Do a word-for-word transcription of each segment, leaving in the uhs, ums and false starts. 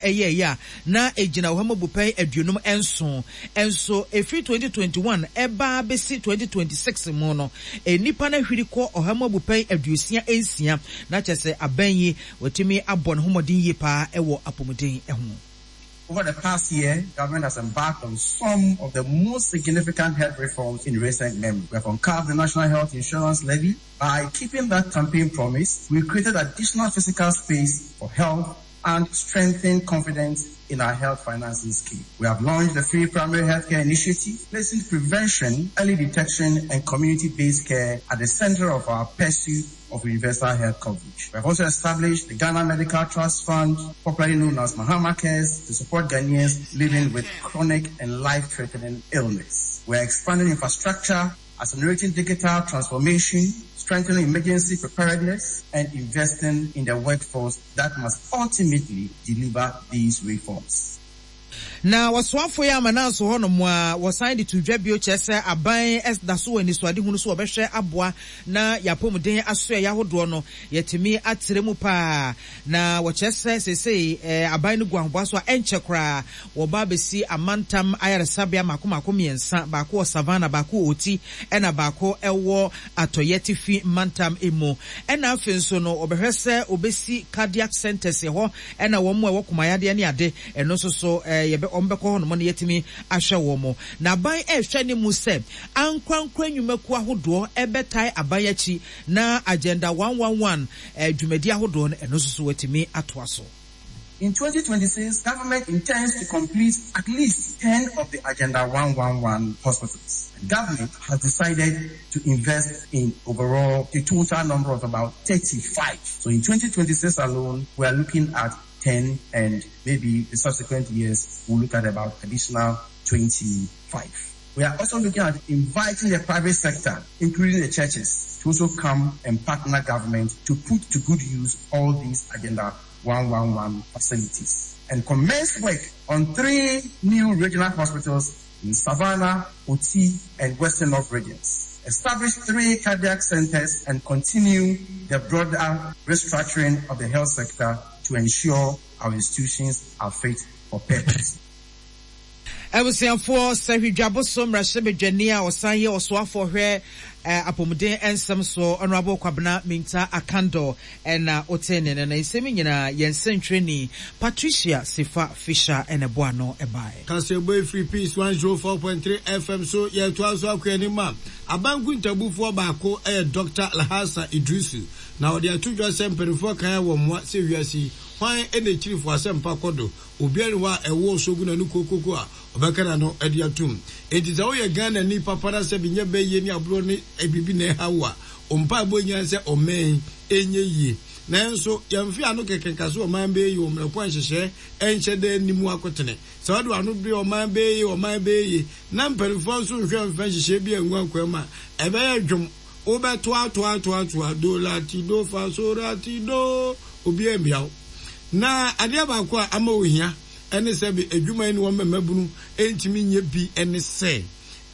Ɛyɛeɛ a na ɛgyina ɔha mu abupɛn aduonum nson. Nso ɛfiri twenty twenty one ɛba abɛsi twenty twenty six mu no, nnipa no ahwiri kɔ ɔha mu abupɛn aduosia nsia. Na kyerɛ sɛ aban yi watumi abɔ ne ho mmɔden yie paa wɔ apɔmuden ho. Over the past year, government has embarked on some of the most significant health reforms in recent memory. We have uncapped the National Health Insurance Levy. By keeping that campaign promise, we created additional fiscal space for health and strengthened confidence in our health financing scheme. We have launched the Free Primary Healthcare Initiative, placing prevention, early detection, and community-based care at the center of our pursuit of universal health coverage. We have also established the Ghana Medical Trust Fund, popularly known as Mahama Cares, to support Ghanaians living with chronic and life-threatening illness. We are expanding infrastructure, accelerating digital transformation, strengthening emergency preparedness, and investing in the workforce that must ultimately deliver these reforms. Na wɔsoafo yi ama nanso hɔnom a wɔsan de to dwa bio kyerɛ sɛ aban da so wɔ anisoadehunu so wɔbɛhwɛ aboa na yɛapɔmuden asoɛeɛ ahodoɔ no yɛtumi atrɛ mu paa. Na wɔkyerɛ sɛ seesei aban no gu ahoboa so a ɛnkyɛ koraa wɔba abɛsi amantam ayaresabea mako mako mmiɛnsa, baako wɔ Savannah, baako wɔ Oti, ɛna baako ɛwɔ Atɔeɛ Atifi mantam mu. Ɛna afei nso no wɔbɛhwɛ sɛ wɔbɛsi cardiac centers hɔ, ɛna wɔn a ɛwɔ komayadeɛ ne ade ɛno nso so yɛbɛ wɔn bɛkɔ hɔnom no yɛtumi ahwɛ wɔn. Na aban ɛrehwɛ ne mu sɛ ankorankora nnwumakuo ahodoɔ ɛbɛtae aban akyi na Agenda one one one dwumadi ahodoɔ no ɛno nso so wɔatumi atoa so. In twenty twenty-six, government intends to complete at least ten of the Agenda one one one hospitals. And government has decided to invest in overall a total number of about thirty-five. So in twenty twenty-six alone, we are looking at ten, and maybe the subsequent years we'll look at about additional twenty-five. We are also looking at inviting the private sector, including the churches, to also come and partner government to put to good use all these Agenda one one one facilities, and commence work on three new regional hospitals in Savannah, Oti, and Western North regions. Establish three cardiac centers and continue the broader restructuring of the health sector to ensure our institutions are fit for purpose. Abusuafoɔ, Sɛhwidwaboso mmarahyɛbadwani a ɔsan yɛ ɔsoafoɔ hwɛ apɔmuden nsɛm so, Honorable Kwabena Mintah Akandoh, ɛna ɔte ne no. Na nsɛm nyinaa yɛn nsɛntwerɛni Patricia Sefa Fisher ɛna ɛboa ano ɛbaeɛ. Kaseɛbɔ efiri Peace one zero four point three F M so, yɛtoa so akɔ anim a abanku ntabufoɔ baako ɛyɛ Doctor Alhassan Idrisu, na ɔde ato dwa sɛ mpanimfoɔ kan wɔ mmoa sɛ wiase yi hwan ɛna ekyirifo asɛmpa kɔ do, obiara ni hɔ a ɛwɔ sogu na ne kokoko a ɔbɛka n'ano ɛde atum. Enti sɛ woyɛ Ghana ni papa na sɛ bi nyɛ bɛyie ne aborɔ ne biribi na ɛha wo a, ɔmpa ɛbɔ nyinaa sɛ ɔmɛn ɛnyɛ yie. Nanso yɛmfe ano kɛkɛ nka so ɔman bɛyɛ yie wɔ mmerɛ kwan nhyehyɛ ɛnhyɛ dɛ anim akotene. Sɛ wɔde ano de ɔman bɛyɛ yie, ɔman bɛyɛ yie, na mpanimfoɔ nso nhwɛ mfa nhyehyɛ bi angu akwan mu a, ɛbɛyɛ dwom. Wobɛtoatoatoatoa do la ti do fa so ra ti do, obiara mmia wo. Na adeɛ baako a ama ohia ɛne sɛ bi adwuma yi ne wɔn mmabunu ntumi nyɛ bi ɛne sɛ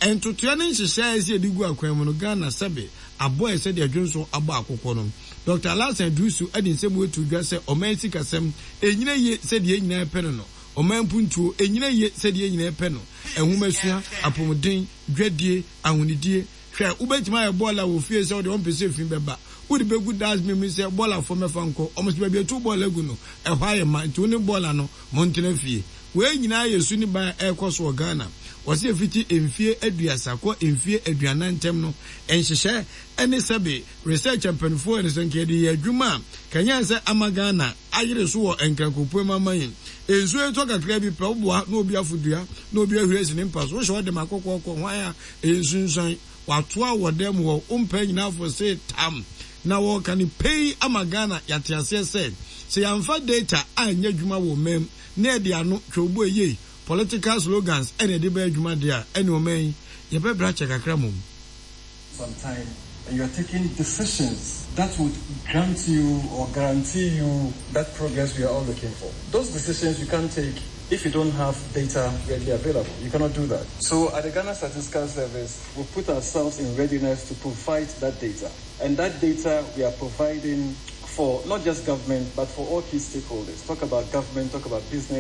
ntotoa ne nhyehyɛ a ɛsɛ yɛde gu akwan mu no, Ghana sɛbe abɔ ɛsɛ deɛ dwonso abɔ akokɔ no. Doctor Alhassan Iddrisu ɛde nsɛm etu dwa sɛ ɔman sikasɛm enyina yie sɛdeɛ nyinaa pɛ no no ɔman mpuntuo enyina yie sɛdeɛ nyinaa pɛ no, ɛhomasua, apɔmuden, dwadie, ahonidie. Hwɛ, wobɛtumi ayɛ bɔɔla wɔ fie sɛ wode ɔmpɛ sɛ fi bɛba, wode bɛgu dustbin mu sɛ bɔɔlafoɔ mɛfa nkɔ. Ɔmo sɛ baabi atu bɔɔla gu no ɛhɔ ayɛ ma, nti wo ne bɔɔla no montena fie. Wei nyinaa yɛ su ne ban a ɛrekɔ so wɔ Ghana. Wɔsi efiti mfie aduasa kɔ mfie aduanan ntɛm no, nhyehyɛ ɛne sɛbe research mpanimfoɔ ɛne sɛ nka yɛde yɛ adwuma a kanyan sɛ ama Ghana ayere so wɔ nkrankopoe mu ama yɛn. Nsuo etɔ kakra bi pɛ, woboa na obi afodua na obi ahuri asi ne mpa so, wohyɛ ɔde ma akɔkɔɔkɔ hwan a ɛyɛ nsunsuan watoa wɔ dɛm hɔ wompɛ nyinaa fo se tam na wɔka ne pɛyi ama Ghana. Yɛate aseɛ sɛ sɛ yɛamfa data anyɛ adwuma wɔ ɔman na yɛde ano twɛwbo eyie political slogans ɛna yɛde bɛyɛ adwuma deɛ a, ɛne ɔman yi yɛbɛbrɛ akyɛ kakra mmom. Some time and you are taking decisions that would grant you or guarantee you that progress we are all looking for. Those decisions you can't take if you don't have data readily available. You cannot do that. So at the Ghana Statistical Service, we put ourselves in readiness to provide that data. And that data we are providing for not just government, but for all key stakeholders. Talk about government, talk about business,